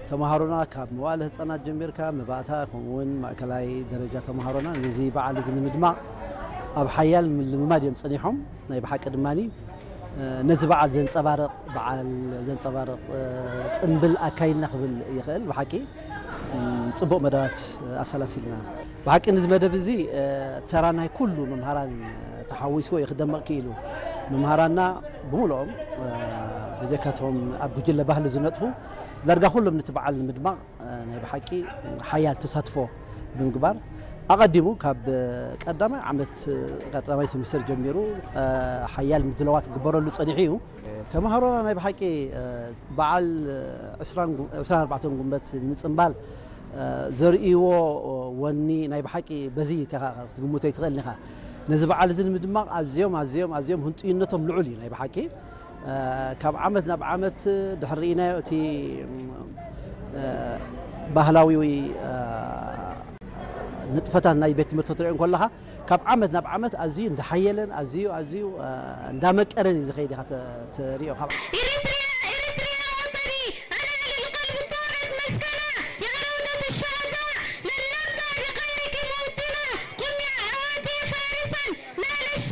ተምሃሮና ካብ መዋእለ ህፃናት ጀሚርካ መባእታ ከምኡውን ማእከላይ ደረጃ ተምሃሮና ነዚ በዓል እዚ ንምድማቕ ኣብ ሓያል ምልምማድ እዮም ጸኒሖም። ናይ ብሓቂ ድማ ነዚ በዓል ዘንጸባርቕ በዓል ዘንጸባርቕ ጽምብል ኣካይድና ክብል ይኽእል። ብሓቂ ጽቡቕ መደባት ኣሰላሲልና። ብሓቂ ነዚ መደብ እዚ ተራ ናይ ኩሉ መምሃራን ተሓዊስዎ እዩ ክደመቕ ክኢሉ። መምሃራና ብምልኦም ብጀካቶም ኣብ ጉጅለ ባህሊ ዝነጥፉ ዳርጋ ኩሎም ነቲ በዓል ንምድማቕ ናይ ብሓቂ ሓያል ተሳትፎ ብምግባር ኣቐዲሙ ካብ ቀዳማይ ዓመት ቀዳማይ ሰሚስተር ጀሚሩ ሓያል ምድላዋት ክግበረሉ ጸኒሑ እዩ። ተምሃሮና ናይ ብሓቂ በዓል ዕስራን ጉ- ዕስራን ኣርባዕተን ጉንበት ንምጽንባል ዘርእይዎ ወኒ ናይ ብሓቂ በዚ ኢልካ ክትግምቶ ኣይትኽእልን ኢኻ። ነዚ በዓል እዚ ንምድማቕ ኣዝዮም ኣዝዮም ኣዝዮም ህንጡይነቶም ልዑል እዩ ናይ ብሓቂ። ካብ ዓመት ናብ ዓመት ድሕሪ ርኢናዮ እቲ ባህላዊ ንጥፈታት ናይ ቤት ትምህርቲ ክትሪኦ እንከለኻ ካብ ዓመት ናብ ዓመት ኣዝዩ እንዳሓየለን ኣዝዩ ኣዝዩ እንዳመቀረን እዩ ዝኸይድ ኢኻ ትሪኦ። ካብ